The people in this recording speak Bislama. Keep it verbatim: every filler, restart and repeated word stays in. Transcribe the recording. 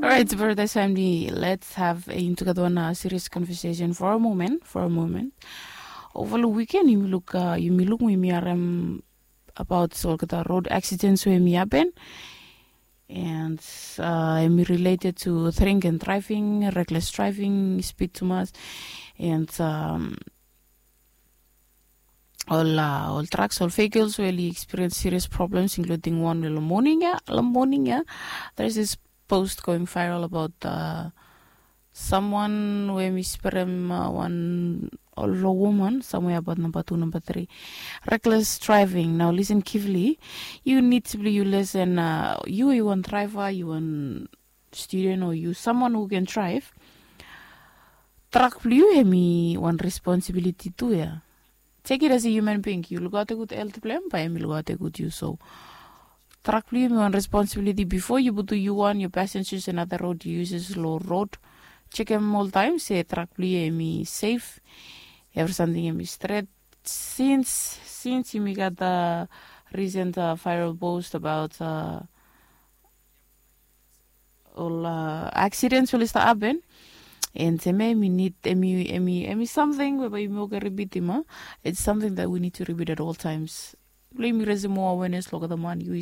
Alright, brother Sandy, let's have a into one uh, serious conversation for a moment, for a moment. Over the weekend, you look, uh, you look, we are um, about all the road accidents where me happen, and uh, I'm related to drink and driving, reckless driving, speed too much, and um, all uh, all trucks, all vehicles really experience serious problems, including one lo morning ya, lo morning ya. There's this post going viral about uh, someone where mi sperem uh, one lo woman somewhere about number two, number three. Reckless driving. Now listen carefully. You need to be you listen. Uh, you you one driver, you one student, or you someone who can drive. Truck blue hemi one responsibility too ya. Take it as a human being. You look out a good health plan, by hemi look out a good you. So truck blue hemi one responsibility before you put you one, your passengers and other road users low road. Check him all time. Say truck blue hemi safe. Every something hemi straight. Since since you got the recent uh, viral post about uh, ol uh, accidents will start happen. And seme emi need emi emi emi something whereby you make a repeat him. It's something that we need to repeat at all times. Blame you raise more awareness look at the man you